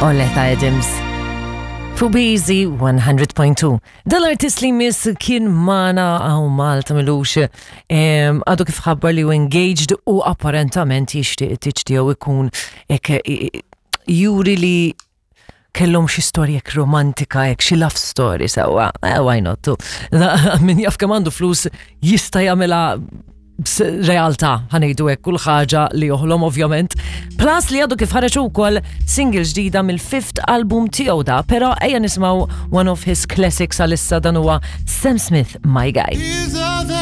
Oleta Adams. Fu Busy 100.2. Dal-artist li miss kien mana għaw Malta milux għadu kif ħabbar li u engaged u apparentament jixtieq it-tiġ tiegħu ikun ek juri li kellhom xi storja hekk romantika hekk xi love story sewwa, eh, why not too. Min jaf kemm għandu flus jista' jagħmilha realtà ħanejdu hekk kull ħaġa li joħlom ovvjament. Plus li għadu kif ħareġ ukoll single ġdida mill-fifth album tiegħu da, però ejja nisimgħu one of his classics għalissa dan huwa Sam Smith My Guy.